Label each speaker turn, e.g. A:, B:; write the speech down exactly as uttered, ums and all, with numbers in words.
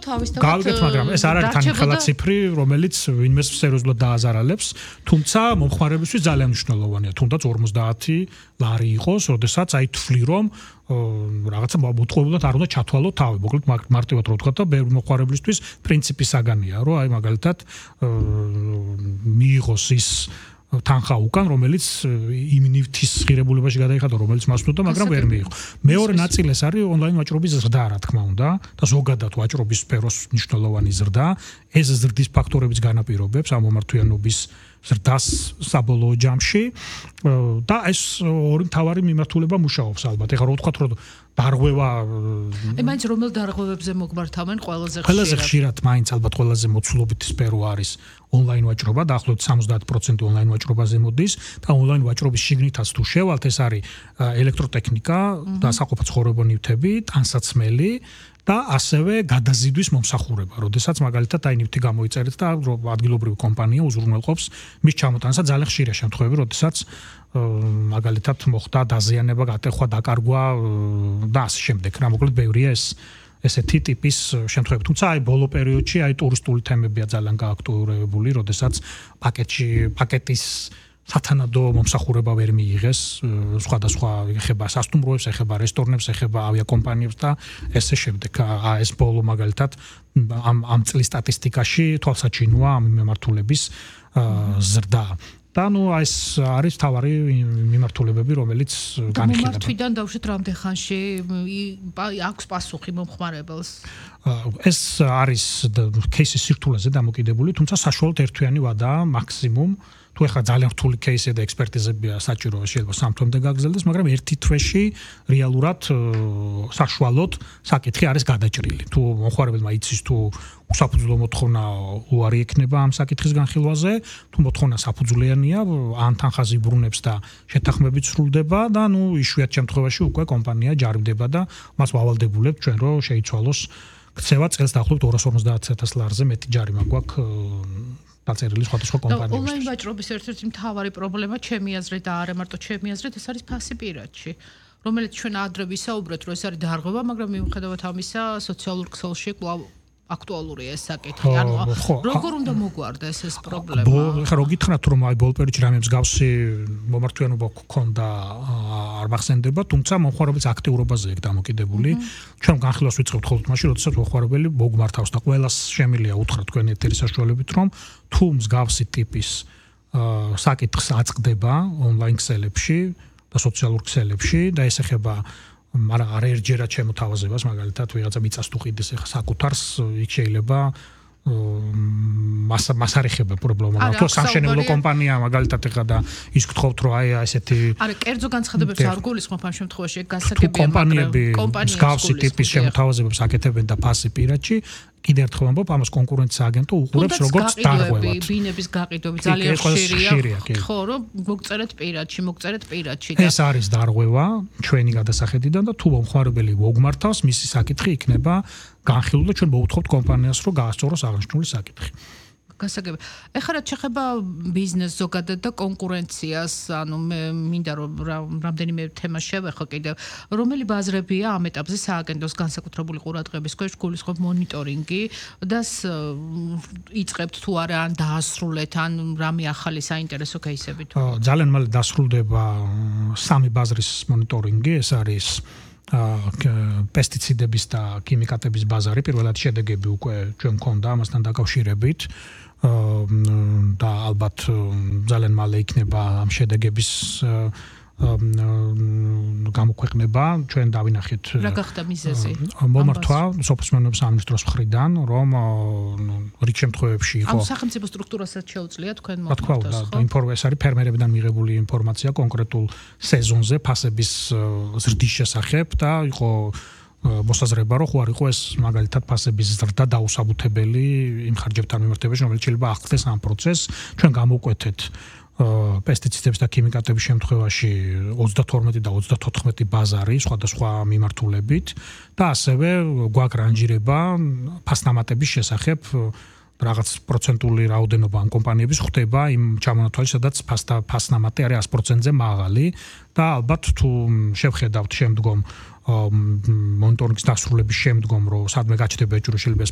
A: თავისთავად
B: გავიგეთ, მაგრამ ეს არ არის თან ხელაციფრი, რომელიც ვინმეს სერიოზულად დააზარალებს, თუმცა მომხმარებისთვის ძალიან მნიშვნელოვანია, თუნდაც ორმოცდაათი ლარი იყოს, როდესაც აი თვლი რომ რაღაცა მოტყუებულად არ უნდა ჩათვალო თავი. მოკლედ მარტივად რო ვთქვა და ბევრი მომხმარებლისთვის პრინციპი საგანია, რომ აი მაგალითად მიიღოს ის თანხა უკან, რომელიც იმ ნივთის ღირებულებაში გადაიხადა, რომელიც მას უნდა, მაგრამ ვერ მიიღო. მეორე ნაწილი ეს არის ონლაინ ვაჭრობის ზრდა, რა თქმა უნდა, და ზოგადად ვაჭრობის სფეროს მნიშვნელოვანი ზრდა. ეს ზრდის ფაქტორებიც განაპირობებს ამ მომართვიანობის ზრდას საბოლოო ჯამში და ეს ორი მთავარი მიმართულება მუშაობს ალბათ. ეხლა რო ვთქვათ, რომ დარღვევა
A: აი მაინც რომელ დარღვევებზე მოგმართავენ ყველაზე ხშირად?
B: ყველაზე ხშირად მაინც ალბათ ყველაზე მოცულობითი სფერო არის ონლაინ ვაჭრობა, დაახლოებით სამოცდაათი პროცენტი ონლაინ ვაჭრობაზე მოდის და ონლაინ ვაჭრობის შიგნითაც თუ შევალთ, ეს არის ელექტროტექნიკა და საყოფაცხოვრებო ნივთები, ტანსაცმელი და ასევე გადაზიდვის მომსახურება, როდესაც მაგალითად აი ნივთი გამოიწერეთ და ადგილობრივი კომპანია უზრუნველყოფს მის ჩამოტანას. ძალიან ხშირია შემთხვევები, როდესაც მაგალითად მოხდა დაზიანება, გატეხვა, დაკარგვა და ასე შემდეგ. რა მოკლედ ბევრია ეს ესეთი ტიპის შემთხვევები. თუმცა აი ბოლო პერიოდში აი ტურისტული თემებია ძალიან გააქტუალურებული, როდესაც პაკეტში პაკეტის სათანადო მომსახურება ვერ მიიღეს, სხვადასხვა ეხება სასტუმროებს, ეხება რესტორნებს, ეხება ავიაკომპანიებს და ესე შემდეგ. ეს ბოლო მაგალითად ამ ამ წლის სტატისტიკაში თვალსაჩინოა ამ მიმართულების ზრდა. და ნუ ეს არის თავარი მიმართულებები, რომელიც განიხილება.
A: მომართვიდან დავუშვით რამდენ ხანში აქვს პასუხი მომხმარებელს?
B: ეს არის кейსის სირთულეზე დამოკიდებული, თუმცა საშუალოდ ერთთვიანი ვადაა მაქსიმუმ. თუ ეხლა ძალიან რთული кейსია და ექსპერტიზებია საჭირო, შეიძლება სამ თვემდე გაგრძელდეს, მაგრამ ერთი თვეში რეალურად საშუალოდ საკითხი არის გადაჭრილი. თუ მომხმარებელმა იცის თუ საფუძვლო მოთხოვნა უარი ექნება ამ საკითხის განხილვაზე, თუ მოთხოვნა საფუძვლიანია, ან თანხაზე იბრუნებს და შეთანხმებით სრულდება და ნუ იშვიათ შემთხვევაში უკვე კომპანია ჯარიმდება და მას ვავალდებულებთ ჩვენ რომ შეიცვალოს ქცევა წელს დაახლოებით ორას ორმოცდაათი ათას ლარზე მეტი ჯარიმა გვაქვს დაწერილი სხვადასხვა კომპანიებისთვის.
A: ონლაინ ვაჭრობის ერთ-ერთი მთავარი პრობლემა ჩემი აზრით და არა მარტო ჩემი აზრით, ეს არის ფასი პირადში, რომელიც ჩვენ ადრე ვისაუბრეთ, რომ ეს არის დარღვევა, მაგრამ მიუხედავად ამისა, სოციალურ ქსელში კვლავ აქტუალურია ეს საკითხი. ანუ როგორ უნდა მოგვარდეს ეს პრობლემა?
B: ხა რო გითხრათ რომ აი ბოლო პერიოდში რამე მსგავსი მომართვიანობა გქონდა არ მახსენდება, თუმცა მომხმარებლის აქტიურობაზე ეგ დამოკიდებული. ჩვენ განხილვას ვიწყებთ ხოლმე მაშინ, როდესაც მომხმარებელი მოგმართავს და ყველას შემიძლია უთხრა თქვენ ეთერის საშუალებით, რომ თუ მსგავსი ტიპის საკითხს აწყდება ონლაინ ქსელებში და სოციალურ ქსელებში და ეს ეხება მაგრამ არ ერჯერა ჩემო თავაზებას, მაგალითად ვიღაცა მიწას თუ ყიდეს ახლა საკუთარს, იქ შეიძლება მას მას არ ეხება პრობლემა, მაგრამ თუ სამშენებლო კომპანია მაგალითად ახლა და ის გთხოვთ რომ აი ესეთი
A: არა, კერძო განცხადებებს არ გულისხმობ ამ შემთხვევაში, ეგ გასაგებია,
B: მაგრამ კომპანიები მსგავსი ტიპის შემოთავაზებებს აკეთებენ და ფასი პირადში კიდევ ერთხელ ვამბობ, ამას კონკურენციის აგენტო უყურებს როგორც დარღვევად.
A: ბინების გაყიდვები ძალიან ხშირია. ხო, რომ მოგწერეთ პირადში, მოგწერეთ პირადში და
B: ეს არის დარღვევა ჩვენი გადასახედიდან და თუ მომხმარებელი მოგმართავს, მისი საკითხი იქნება განხილული და ჩვენ მოვუთხოვთ კომპანიას, რომ გაასწოროს აღნიშნული საკითხი.
A: გასაგებია. ეხლა რაც შეეხება ბიზნეს ზოგადად და კონკურენციას, ანუ მე მინდა რომ რამდენიმე თემა შევეხო კიდევ. რომელი ბაზრებია ამ ეტაპზე სააგენტოს განსაკუთრებული ყურადღების ქვეშ გულისხმობ მონიტორინგი და იწყებთ თუ არა ან დაასრულეთ ან რამე ახალი საინტერესო кейსები თუ?
B: ძალიან მალე დასრულდება სამი ბაზრის მონიტორინგი, ეს არის პესტიციდების და ქიმიკატების ბაზარი, პირველად შედეგები უკვე ჩვენ მქონდა ამასთან დაკავშირებით და ალბათ ძალიან მალე იქნება ამ შედეგების გამოქვეყნება, ჩვენ დავინახეთ
A: რა გახდა მიზეზი?
B: მომართვა სოფლის მეურნეობის სამინისტროს მხრიდან, რომ რიგ შემთხვევებში იყო
A: ამ სახელმწიფო სტრუქტურასაც შეუძლია თქვენ
B: მომართვას, ხო? ინფორმაცია არის ფერმერებიდან მიღებული ინფორმაცია კონკრეტულ სეზონზე ფასების ზრდის შესახებ და იყო მოსაზრება, რომ ხო არ იყო ეს მაგალითად ფასების ზრდა დაუსაბუთებელი იმ ხარჯებთან მიმართებაში, რომელიც შეიძლება აღწევს ამ პროცესს. ჩვენ გამოვკვეთეთ პესტიციდების და ქიმიკატების შემთხვევაში ოცდათორმეტი და ოცდათოთხმეტი ბაზარი სხვადასხვა მიმართულებით და ასევე გვაქვს რანჟირება ფასნამატების შესახებ რაღაც პროცენტული რაოდენობა ამ კომპანიების ხდება იმ ჩამონათვალში, სადაც ფასნამატი არის ას პროცენტზე მაღალი და ალბათ თუ შევხედავთ შემდგომ მონიტორინგის დასრულების შემდგომ, რომ სადმე გაჩნდება ეჭვი, რომ შეიძლება